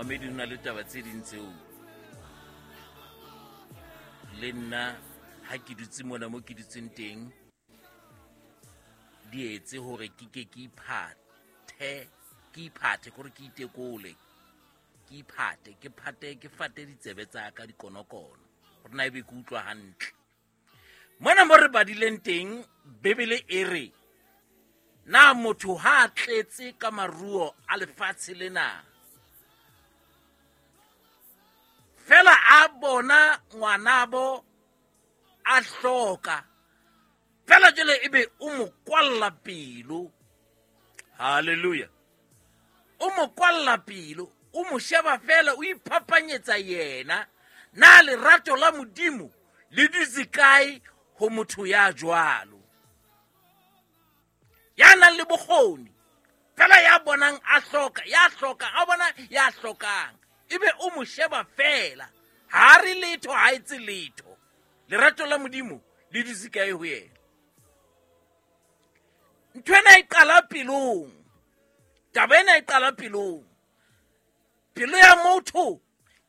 Momamedi, ho na le taba tse ding tseo le nna ha ke dutse mona mo ke dutseng teng di etse hore ke ke ke iphathe, ke iphathe kore ke itekole, ke iphate, ke phate, ke fate ditsebe tsa ka dikonokono gore na ebe ke utlwa hantle. Mona mo re badileng teng, Bibele e re na motho ha a tletse ka maruo a lefatshe lena, fela a bona ngwanabo a hloka fela, jale ebe o mo kwalla pelo. Halleluja! O mo kwalla pelo, o mo sheba fela, o iphapanyetsa yena. Na lerato la Modimo le dutse kae ho motho ya jwalo, ya nang le bokgoni fela, ya bonang a hloka, ya hlokang, a bona ya hlokang, ebe o mo sheba fela, ha re letho, ha etse letho? Lerato la Modimo le dutse kae ho yena? Ntho ena e qala pelong, taba ena e qala pelong. Pelo ya motho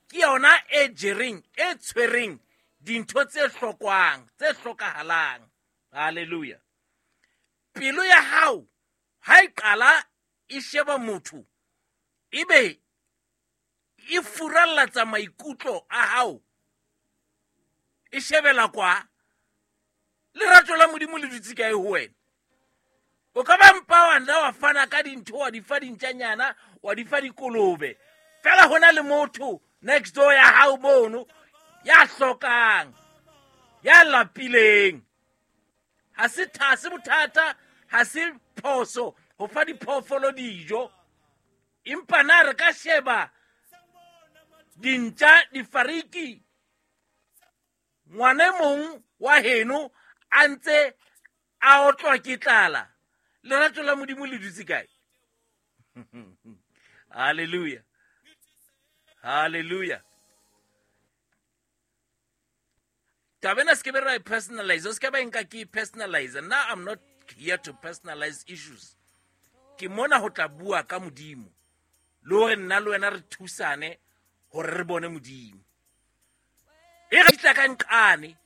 ke yona e jereng, e tshwereng dintho tse hlokwang, tse hlokahalang. Halleluja! Pelo ya hao ha e qala e sheba motho, ebe e furallatsa maikutlo a hao, e shebela kwa, lerato la Modimo le dutse kae ho wena? O ka ba mpa wa nna wa fana ka dintho, wa di fa dintjanyana, wa di fa dikolobe fela, ho na le motho next door ya hao mono ya hlokang, ya lapileng. Ha se ha se bothata, ha se phoso ho fa diphoofolo dijo, empa na re ka sheba dintja, difariki, ngwana e mong wa heno a ntse a otlwa ke tlala? Lerato la Modimo le dutse kae? Halleluja, halleluja! Taba ena se ke be ra e personalize, o se ke ba nka ke e personalize. Nna, I'm not here to personalize issues. Ke mona ho tla bua ka Modimo le hore nna le wena re thusane hore re bone Modimo. E re tla ka nqane.